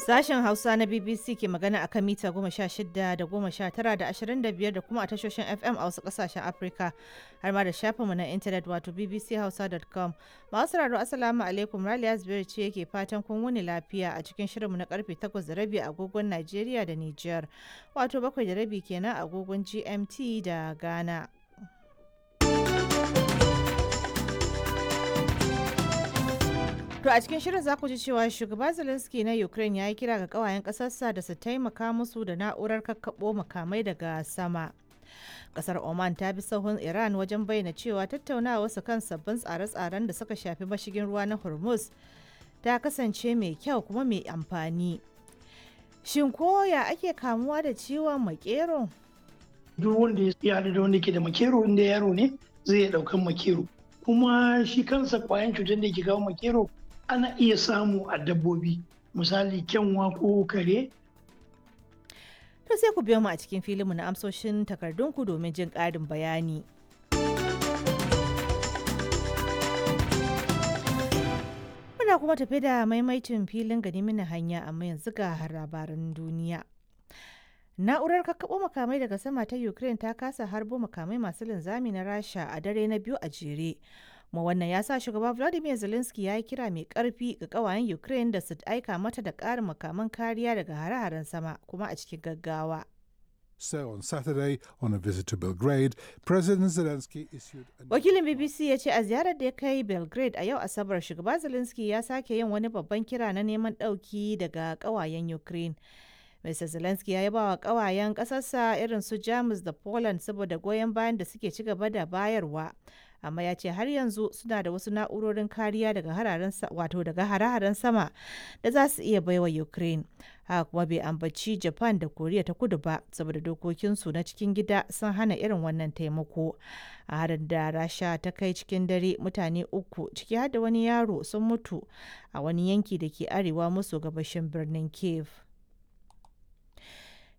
Sashen Hausa na BBC ke magana akan mita 16 da 19 da 25 da kuma a tashoshin FM a wasu kasashen Afirka har ma da shafinmu na intanet wato bbchausa.com. Masu sauraro, Assalamu alaikum, Raliya Zubairu ce yake fatan kun wuni lafiya a cikin shirinmu na karfe 8:30 agogon Najeriya da Nijar, wato 7:30 kenan agogon GMT da Ghana. To a cikin shirin za ku ji cewa shugaba Zelensky na Ukraine ya yi kira ga kawayen ƙasarsa da su taimaka musu da na'urar kakkaɓo makamai daga sama. Kasar Oman ta bi sahun Iran wajen bayyana cewa tattaunawa su kan sabbin tsare-tsaren da suka shafi mashigin ruwa na Hormuz ta kasance mai kyau kuma mai amfani. Shin koya ake kamuwa da ciwon makero? Duk wanda ya haɗu da wanda ke da makero, inda yaro ne, zai iya ɗaukan makero. Kuma shi kansa kwayan cutar da ke kawo makero ana iya samu a dabbobi, misali kyanwa ko kare. To sai ku biyo mu a cikin filinmu na amsoshin takardunku domin jin ƙarin bayani. Muna kuma tafi da maimaicin filin gani mini hanya, amma yanzu ga labaran duniya. Na'urar kakkaɓo makamai daga sama ta Ukraine ta kasa harbo makamai masu linzami na Rasha a dare na biyu a jere. Kuma wannan ya sa shugaba Vladimir Zelensky ya yi kira mai karfi ga kawayen Ukraine da su aika mata da ƙarin makaman kariya daga hare-haren sama, kuma a cikin gaggawa. So on Saturday, on a visit to Belgrade, President Zelensky issued a Wakilin BBC ya ce a ziyarar da ya kai Belgrade a yau Asabar, shugaba Zelensky ya sake yin wani babban kira na neman ɗauki daga ƙawayen Ukraine. Mr. Zelensky ya yaba wa ƙawayen ƙasarsa irin su Jamus da Poland saboda goyon bayan da suke ci gaba da bayarwa. Amma ya ce har yanzu suna da wasu na'urorin kariya daga hararen, wato daga hare-haren sama, da za su iya baiwa Ukraine. Haka kuma bai ambaci Japan da Koriya ta Kudu ba saboda dokokinsu na cikin gida sun hana irin wannan taimako. A harin da Rasha ta kai cikin dare, mutane uku, ciki har da wani yaro, sun mutu a wani yanki da ke arewa maso gabashin birnin Kiev.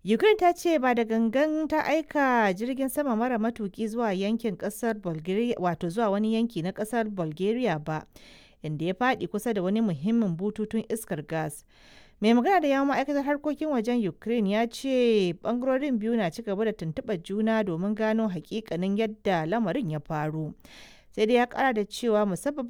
Ukraine ta ce ba da gangan ta aika jirgin sama mara matuki zuwa yankin kasar Bulgaria, wato zuwa wani yanki na kasar Bulgaria ba, inda ya faɗi kusa da wani muhimmin bututun iskar gas. Mai magana da yawon ma'aikatar harkokin wajen Ukraine ya ce bangarorin biyu na ci gaba da tuntuɓar juna domin gano hakikanin yadda lamarin ya faru. Sai dai ya kara da cewa musabbabin